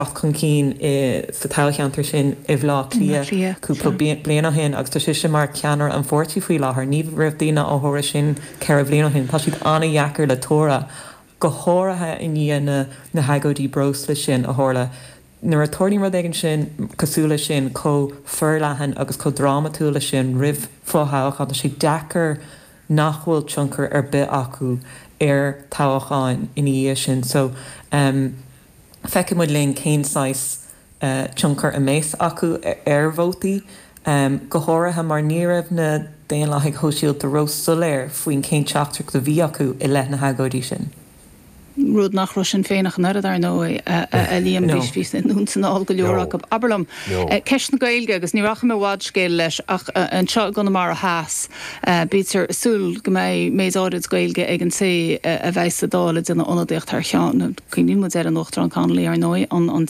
Chun cinn sa toghcheantar sin i mBleá Cliath cúpla bliain ó shin agus tá sise mar cheannaire an pháirtí faoi láthair. Ní raibh daoine á thuaradh sin 4 bhliain ó shin. Tá siad an-dheacair le tuaradh, go háirithe i ndiaidh na hagóidí breosla sin a tharla. Nuair a tarlaíonn rud éigin sin cosúil leis sin, chomh forleathan agus chomh drámatúil leis sin roimh fho-thoghchán, tá sé deacair nach bhfuil tionchar ar bith acu ar thoghcháin ina dhiaidh sin. So. Feicfidh muid linn cén saghas tionchar a mbeas acu ar vótaí, go háirithe mar ní raibh na Daonlathaigh Shóisialta ró-soiléir faoin cén teachtaireacht a bhí acu i leith na hagóidí sin. Rud nach raibh Sinn Féin ach an oiread, ar ndóigh, a Liam. Bhí anonn is anall go leor acu. Abair liom, ceist na Gaeilge, agus ní rachaidh mé i bhfad scéil leis, ach anseo i gConamara Theas, Bítear ag súil go mbeidh méid áirid Gaeilge ag an té a bheidh sa Dáil ag déanamh ionadaíocht thar cheann, cuimhníonn muid ar an Uachtarán Connolly, ar ndóigh, an.